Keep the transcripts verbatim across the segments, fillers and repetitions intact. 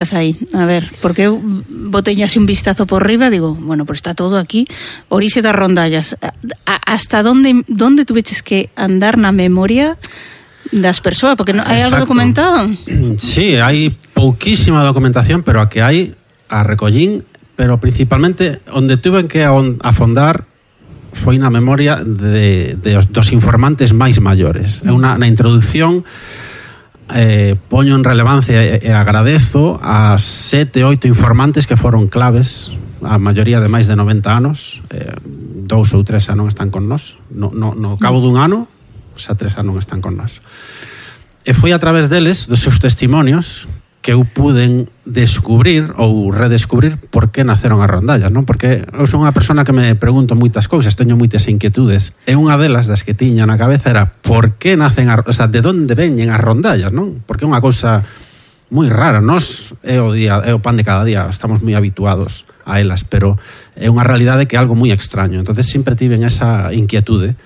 Aí, a ver, porque eu botei así un vistazo por riba, digo, bueno, pues está todo aquí, orixe das rondallas. A, hasta donde donde tuveches que andar na memoria das persoas, porque no, hai algo documentado? Sí, hai pouquísima documentación, pero a que hai a recollín, pero principalmente onde tuven que afondar foi na memoria de, de os, dos informantes máis maiores. É unha na introducción. Eh, poño en relevancia e, e agradezo a sete, oito informantes que foron claves, a maioría de máis de noventa anos, eh, dous ou tres xa non están con nós, no, no, no cabo dun ano xa tres xa non están con nós, e foi a través deles, dos seus testimonios, que eu puden descubrir ou redescubrir por que naceron as rondallas, non? Porque eu son unha persona que me pregunto moitas cousas, teño moitas inquietudes, e unha delas das que tiña na cabeza era por que nacen as, o sea, de onde veñen as rondallas, non? Porque é unha cousa moi rara, nós é o día, é o pan de cada día, estamos moi habituados a elas, pero é unha realidade que é algo moi extraño. Entonces sempre tiven esa inquietude,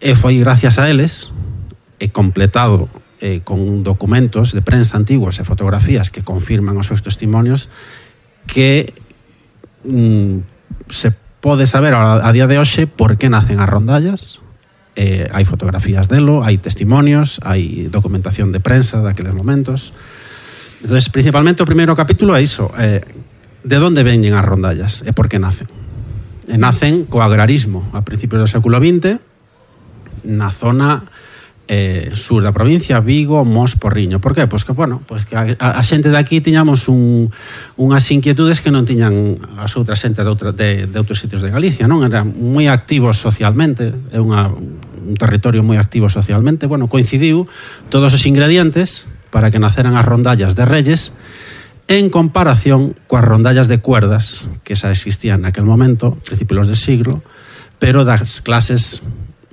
e foi gracias a eles, e completado Eh, con documentos de prensa antigos e fotografías que confirman os seus testimonios, que mm, se pode saber a, a día de hoxe por que nacen as rondallas. Eh, hai fotografías delo, hai testimonios, hai documentación de prensa daqueles momentos. Entonces, principalmente o primeiro capítulo é iso, eh, de onde veñen as rondallas e por que nacen. E nacen co agrarismo a principios do século vinte na zona Eh, sur da provincia, Vigo, Mos, Porriño. Por que? Pois que, bueno, pois que a, a xente de aquí tiñamos un, unhas inquietudes que non tiñan as outras xente de, outra, de, de outros sitios de Galicia, non? Eran moi activos socialmente, é unha, un territorio moi activo socialmente. Bueno, coincidiu todos os ingredientes para que naceran as rondallas de Reyes en comparación coas rondallas de cuerdas que xa existían naquel momento, principios de siglo, pero das clases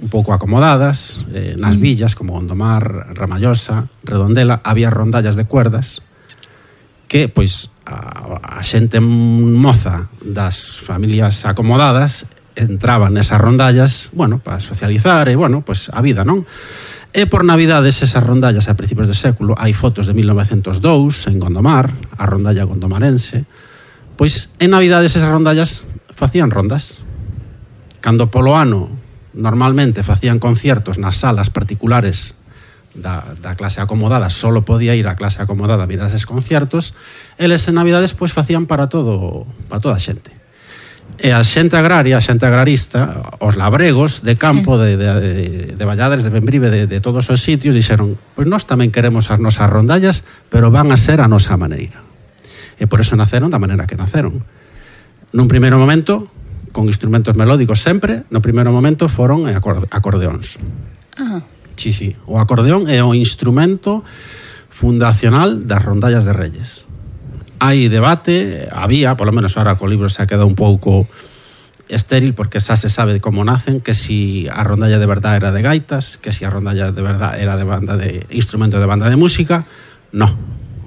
un pouco acomodadas, eh, nas villas como Gondomar, Ramallosa, Redondela, había rondallas de cuerdas que, pois, a, a xente moza das familias acomodadas entraban nesas rondallas, bueno, para socializar e, bueno, pois, a vida, non? E por Navidades, esas rondallas a principios do século, hai fotos de mil novecentos dous en Gondomar, a rondalla gondomarense, pois, en Navidades esas rondallas facían rondas. Cando polo ano normalmente facían conciertos nas salas particulares da, da clase acomodada, solo podía ir a clase acomodada a mirar eses conciertos, eles en Navidades pois facían para todo, para toda a xente. E a xente agraria, a xente agrarista, os labregos de campo, sí, de, de, de, de Valladares, de Bembrive, de, de todos os sitios, dixeron, pois nós tamén queremos as nosas rondallas, pero van a ser a nosa maneira. E por eso naceron da maneira que naceron. Nun primeiro momento, con instrumentos melódicos sempre, no primeiro momento foron acordeóns. Ah. Sí, sí. O acordeón é o instrumento fundacional das rondallas de Reyes. Hai debate, había, polo menos ahora co libro se ha quedado un pouco estéril, porque xa se sabe como nacen, que si a rondalla de verdad era de gaitas, que si a rondalla de verdad era de banda de instrumento de banda de música. No.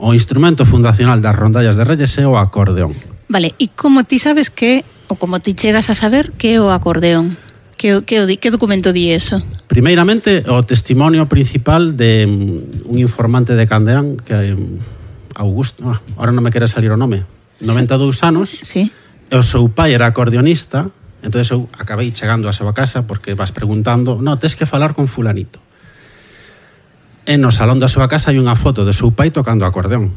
O instrumento fundacional das rondallas de Reyes é o acordeón. Vale, e como ti sabes que, ou como ti chegas a saber que é o acordeón? Que, que, que documento di eso? Primeiramente, o testimonio principal de un informante de Candeán, que Augusto, ah, ahora non me quere salir o nome, noventa e dous anos, sí. E o seu pai era acordeonista, entón eu acabei chegando á súa casa porque vas preguntando, no, tes que falar con fulanito. E no salón da súa casa hai unha foto de seu pai tocando acordeón.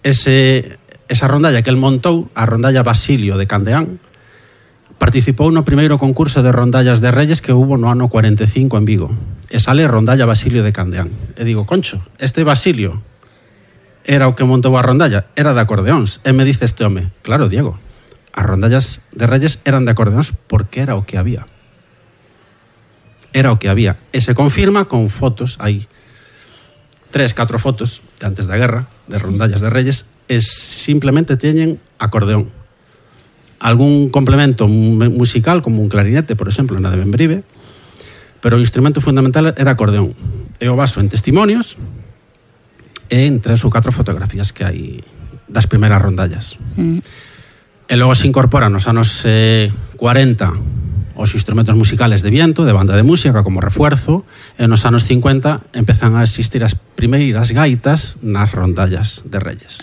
Ese... Esa rondalla que el montou, a rondalla Basilio de Candeán, participou no primeiro concurso de rondallas de Reyes que hubo no ano cuarenta e cinco en Vigo. E sale rondalla Basilio de Candeán. E digo, concho, este Basilio era o que montou a rondalla, era de acordeóns. E me dice este home, claro, Diego, as rondallas de Reyes eran de acordeóns porque era o que había. Era o que había. E se confirma con fotos, hai tres, catro fotos de antes da guerra, de rondallas de Reyes, e simplemente teñen acordeón. Algún complemento musical, como un clarinete, por exemplo, na de Bembrive, pero o instrumento fundamental era acordeón. E o baso en testimonios e en tres ou catro fotografías que hai das primeiras rondallas. Mm. E logo se incorpora nos anos eh, cuarenta os instrumentos musicales de viento, de banda de música como refuerzo, e nos anos cincuenta empezan a existir as primeiras gaitas nas rondallas de Reyes.